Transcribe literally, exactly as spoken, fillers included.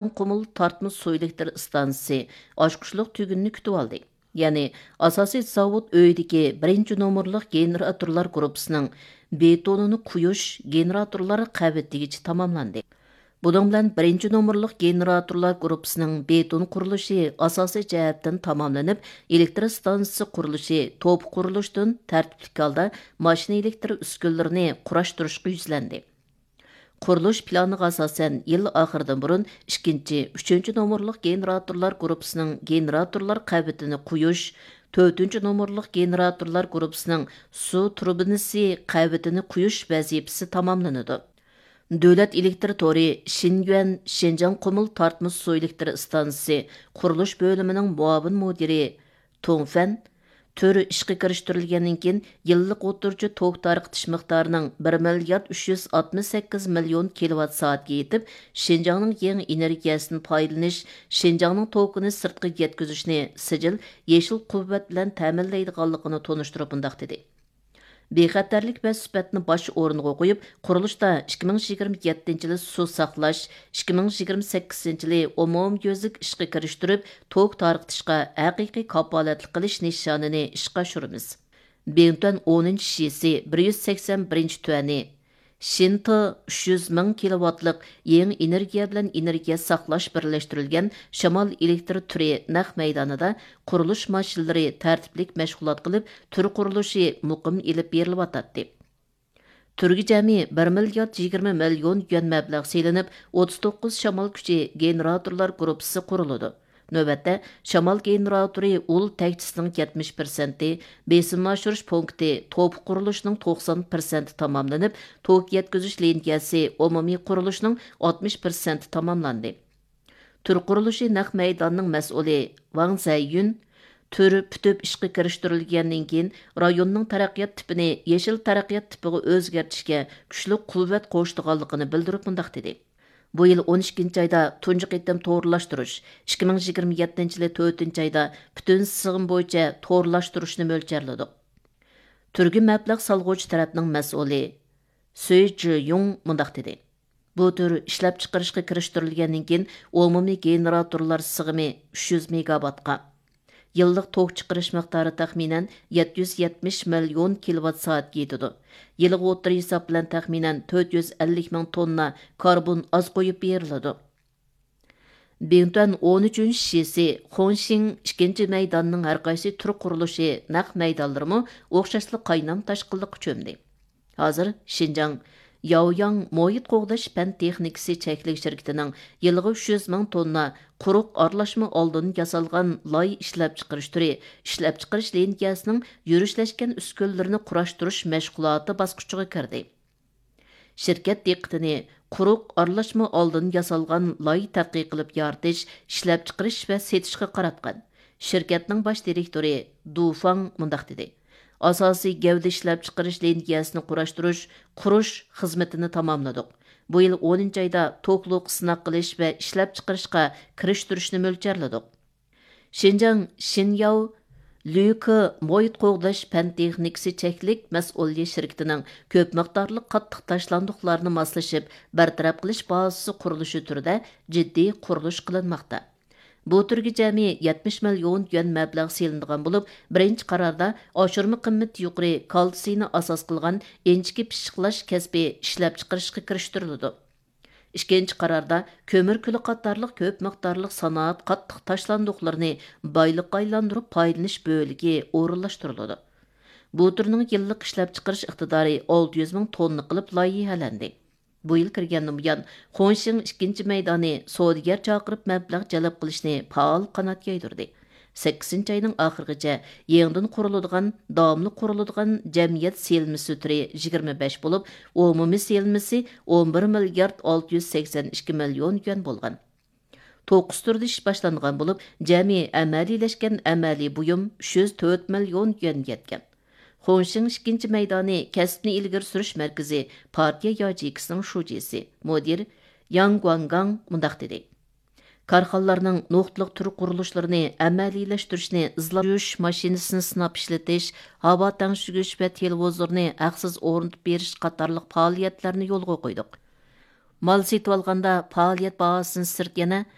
قۇمۇل تارتما سۇ ئېلېكتر ئىستانسىسى ئاچقۇچلۇق تۈگۈننى كۈتۈۋالدى. يەنى، ئاساسىي زاۋۇت ئۆيىدىكى بىرىنچى نومۇرلۇق گېنېراتورلار گۇرۇپپىسىنىڭ بېتونىنى قۇيۇش گېنېراتورلار قەۋىتىگىچە تاماملاندى. بۇنىڭ بىلەن بىرىنچى نومۇرلۇق گېنېراتورلار گۇرۇپپىسىنىڭ بېتون قۇرۇلۇشى ئاساسىي جەھەتتىن تاماملىنىپ، ئېلېكتر ئىستانسىسى قۇرۇلۇشى توپا قۇرۇلۇشتىن تەرتىپلىك ھالدا ماشىنا ئېلېكتر ئۈسكۈنىلىرىنى قۇراشتۇرۇشقا يۈزلەندى. قۇرۇلۇش پىلانىغا ئاساسەن، يىل ئاخىرىدىن بۇرۇن ئىككىنچى، ئۈچىنچى نومۇرلۇق گېنېراتورلار گۇرۇپپىسىنىڭ گېنېراتورلار قەۋىتىنى قۇيۇش، تۆتىنچى نومۇرلۇق گېنېراتورلار گۇرۇپپىسىنىڭ سۇ تۇربىنىسى قەۋىتىنى قۇيۇش ۋەزىپىسى تاماملىنىدۇ. دۆلەت ئېلېكتر تورى شىنيۈەن شىنجاڭ قۇمۇل تارتما سۇ ئېلېكتر ئىستانسىسى قۇرۇلۇش بۆلۈمىنىڭ مۇئاۋىن مۇدىرى تۇڭ فەن، تۈر ئىشقا كىرىشتۈرۈلگەندىن كېيىن، يىللىق ئوتتۇرىچە توك تارقىتىش مىقدارىنىڭ بىر مىليارد ئۈچ يۈز ئاتمىش سەككىز مىليون كىلوۋات سائەتكە يېتىپ، شىنجاڭنىڭ يېڭى ئېنېرگىيەسىدىن پايدىلىنىش، شىنجاڭنىڭ توكىنى سىرتقا يەتكۈزۈشنى سىجىل، يېشىل قۇۋۋەت بىلەن تەمىنلەيدىغانلىقىنى تونۇشتۇرۇپ مۇنداق دېدى: بىخەتەرلىك ۋە سۈپەتنى باش ئورۇنغا قويۇپ، قۇرۇلۇشتا ئىككى مىڭ يىگىرمە يەتتىنچى يىلى سۇ ساقلاش، ئىككى مىڭ يىگىرمە سەككىزىنچى يىلى ئومۇميۈزلۈك ئىشقا كىرىشتۈرۈپ، توك تارقىتىشقا ھەقىقىي كاپالەتلىك قىلىش نىشانىنى ئىشقا ئاشۇرىمىز. بىڭتۈەن ئونىنچى شىسى بىر يۈز سەكسەن بىرىنچى تۈەنى، شىنتې ئۈچ يۈز مىڭ كىلوۋاتلىق يېڭى ئېنېرگىيە بىلەن ئېنېرگىيە ساقلاش بىرلەشتۈرۈلگەن شامال ئېلېكتر تۈرى نەق مەيدانىدا قۇرۇلۇش ماشىنىلىرى تەرتىپلىك مەشغۇلات قىلىپ، تۈر قۇرۇلۇشى مۇقىم ئېلىپ بېرىلىۋاتاتتى. تۈرگە جەمئىي بىر مىليارد يىگىرمە مىليون يۈەن مەبلەغ سېلىنىپ، ئوتتۇز توققۇز شامال كۈچى گېنېراتورلار گۇرۇپپىسى قۇرۇلىدۇ. نۆۋەتتە، شامال گېنېراتورى ئۇل تەكچىسىنىڭ يەتمىش پىرسەنتى، بېسىم ئاشۇرۇش پونكىتى توپا قۇرۇلۇشىنىڭ توقسان پىرسەنتى تاماملىنىپ، توك يەتكۈزۈش لىنىيەسى ئومۇمىي قۇرۇلۇشنىڭ ئاتمىش پىرسەنتى تاماملاندى. تۈر قۇرۇلۇشى نەق مەيدانىنىڭ مەسئۇلى ۋاڭ زەييۈن، تۈر پۈتۈپ ئىشقا كىرىشتۈرۈلگەندىن كېيىن، رايوننىڭ تەرەققىيات تىپىنى يېشىل تەرەققىيات تىپىغا ئۆزگەرتىشكە كۈچلۈك قۇۋۋەت قوشىدىغانلىقىنى بىلدۈرۈپ مۇنداق دېدى: بۇ يىل ئون ئىككىنچى ئايدا تۇنجى قېتىم تورلاشتۇرۇش، ئىككى مىڭ يىگىرمە يەتتىنچى يىلى تۆتىنچى ئايدا پۈتۈن سىغىم بويىچە تورلاشتۇرۇشنى مۆلچەرلىدۇق. تۈرگە مەبلەغ سالغۇچى تەرەپنىڭ مەسئۇلى سۈي جىيۇڭ مۇنداق دېدى: بۇ تۈر ئىشلەپچىقىرىشقا كىرىشتۈرۈلگەندىن كېيىن، ئومۇمىي گېنېراتورلار سىغىمى ئۈچ يۈز مېگاۋاتقا، يىللىق توك چىقىرىش مىقدارى تەخمىنەن يەتتە يۈز يەتمىش مىليون كىلوۋات سائەتكە يېتىدۇ. يىلغا ئوتتۇرا ھېساب بىلەن تەخمىنەن تۆت يۈز ئەللىك مىڭ توننا كاربون ئاز قويۇپ بېرىلىدۇ. بىڭتۈەن ئون ئۈچىنچى شىسى، خۇڭشىڭ ئىككىنچى مەيدانىنىڭ ھەر قايسى تۈر قۇرۇلۇشى نەق مەيدانلىرىمۇ ئوخشاشلا قاينام تاشقىنلىققا چۆمدى. ھازىر شىنجاڭ ياۋياڭ مۇھىت قوغداش پەن تېخنىكىسى چەكلىك شىركىتىنىڭ يىلىغا ئۈچ يۈز مىڭ توننا قۇرۇق ئارىلاشما ئالدىن ياسالغان لاي ئىشلەپچىقىرىش تۈرى ئىشلەپچىقىرىش لىنىيەسىنىڭ يۈرۈشلەشكەن ئۈسكۈنىلىرىنى قۇراشتۇرۇش مەشغۇلاتى باسقۇچىغا كىردى. شىركەت دىققىتىنى قۇرۇق ئارىلاشما ئالدىن ياسالغان لاي تەتقىق قىلىپ يارىتىش، ئىشلەپچىقىرىش ۋە سېتىشقا قاراتقان. شىركەتنىڭ باش دىرېكتورى دۇ فاڭ مۇنداق دېدى: ئاساسىي گەۋدە ئىشلەپچىقىرىش لىنىيەسىنى قۇراشتۇرۇش، قۇرۇش خىزمىتىنى تاماملىدۇق. بۇ يىل ئونىنچى ئايدا توكلۇق سىناق قىلىش ۋە ئىشلەپچىقىرىشقا كىرىشتۈرۈشنى مۆلچەرلىدۇق. شىنجاڭ شىنياۋ لۈكې مۇھىت قوغداش پەن تېخنىكىسى چەكلىك مەسئۇلىيەت شىركىتىنىڭ كۆپ مىقدارلىق قاتتىق تاشلاندۇقلارنى ماسلىشىپ بىر تەرەپ قىلىش بازىسى قۇرۇلۇشى تۈرىدە جىددىي قۇرۇلۇش قىلىنماقتا. بۇ تۈرگە جەمئىي يەتمىش مىليون يۈەن مەبلەغ سېلىنىدىغان بولۇپ، بىرىنچى قاراردا ئاشۇرما قىممىتى يۇقىرى كالتسىينى ئاساس قىلغان ئىنچىكە پىششىقلاش كەسپى ئىشلەپچىقىرىشقا كىرىشتۈرۈلىدۇ. ئىككىنچى قاراردا كۆمۈر كۈلى قاتارلىق كۆپ مىقدارلىق سانائەت قاتتىق تاشلاندۇقلىرىنى بايلىققا ئايلاندۇرۇپ پايدىلىنىش بۆلىكى ئورۇنلاشتۇرۇلىدۇ. بۇ تۈرنىڭ يىللىق ئىشلەپچىقىرىش ئىقتىدارى ئالتە يۈز مىڭ توننا قىلىپ لايىھەلەندى. بۇ يىل كىرگەندىن بۇيان، خۇڭشىڭ ئىككىنچى مەيدانى سودىگەر چاقىرىپ مەبلەغ جەلپ قىلىشنى پائال قانات يايدۇردى. سەككىزىنچى ئاينىڭ ئاخىرىغىچە يېڭىدىن قۇرۇلىدىغان، داۋاملىق قۇرۇلىدىغان جەمئىيەت سېلىنمىسى تۈرى يىگىرمە بەش بولۇپ، ئومۇمىي سېلىنمىسى ئون بىر مىليارد ئالتە يۈز سەكسەن ئىككى مىليون يۈەن بولغان. توققۇز تۈردە ئىش باشلانغان بولۇپ، جەمئىي ئەمەلىيلەشكەن ئەمەلىي بۇيۇم ئۈچ يۈز تۆت مىليون يۈەنگە يەتكەن. خۇڭشىڭ ئىككىنچى مەيدانى كەسىپنى ئىلگىرى سۈرۈش مەركىزى پارتىيە ياجېيكىسىنىڭ شۇجىسى، مۇدىر ياڭ گۇاڭگاڭ مۇنداق دېدى: كارخانىلارنىڭ نۇقتىلىق تۈر قۇرۇلۇشلىرىنى ئەمەلىيلەشتۈرۈشنى ئىزلاپ يۇيۇش ماشىنىسىنى سىناپ ئىشلىتىش، ھاۋا تەڭشىگۈچ ۋە تېلېۋىزورنى ھەقسىز ئورنىتىپ بېرىش قاتارلىق پائالىيەتلەرنى يولغا قويدۇق. مال سېتىۋالغاندا پائالىيەت باھاسىدىن سىرت يەنە